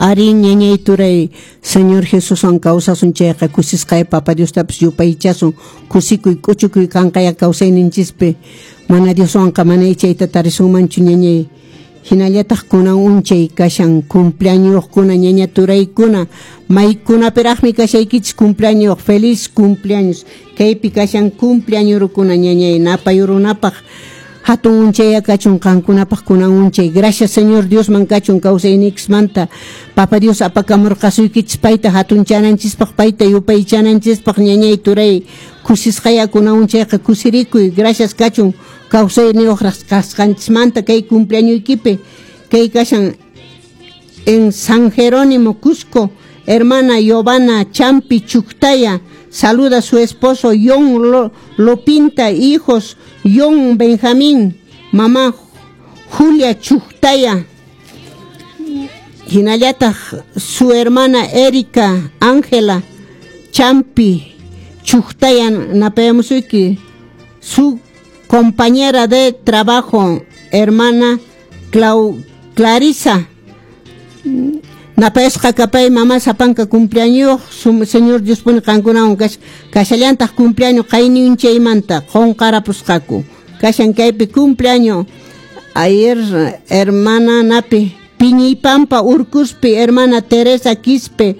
Arí, ñañay turay, Señor Jesuswan kawsasun chayqa kusisqaya Papa Diostapas yupaychasun, kusikuy k'uchukuy kanqaya kawsayninchispi. Mana Dioswanqa mana chayta tarisunmanchu, ñañay. Hinallataq kunan unchay kashan cumpleañoskuna, ñaña turaykuna, maykunapiraqmi kashaykichis cumpleaños, feliz cumpleaños. Kaypi kashan cumpleañorukuna, ñañay, napayurunapaq hatun unchaya kachun qankunapaq kunan unchay. Gracias Señor Diosman kachun kawsaynikismanta. Papa Dios apakamurqasuykichis payta hatunchananchispaq, payta yupaychananchispaq, ñañay turay. Kusisqaya kunan unchayqa kusirikuy. Gracias kachun kawsayniyuq kasqanchismanta kay cumpleañoykipi. Kay kashan en San Jerónimo, Cusco, hermana Giovanna Champi Chuctaya saluda a su esposo John Lopinta, hijos John Benjamín, mamá Julia Chuctaya, hinallataq su hermana Erika Ángela Champi Chuctaya napayamusuyki, su compañera de trabajo, hermana Clarisa. Napayasqa kapay mamá sapanka cumpleaños, Señor Dios pone qankunawan kashallantaq cumpleaños qayninchaymanta qunqarapusqaku. Kashan kaypi cumpleaños. Ayer hermana napi Piñipampa Urcuspi, hermana Teresa Quispe.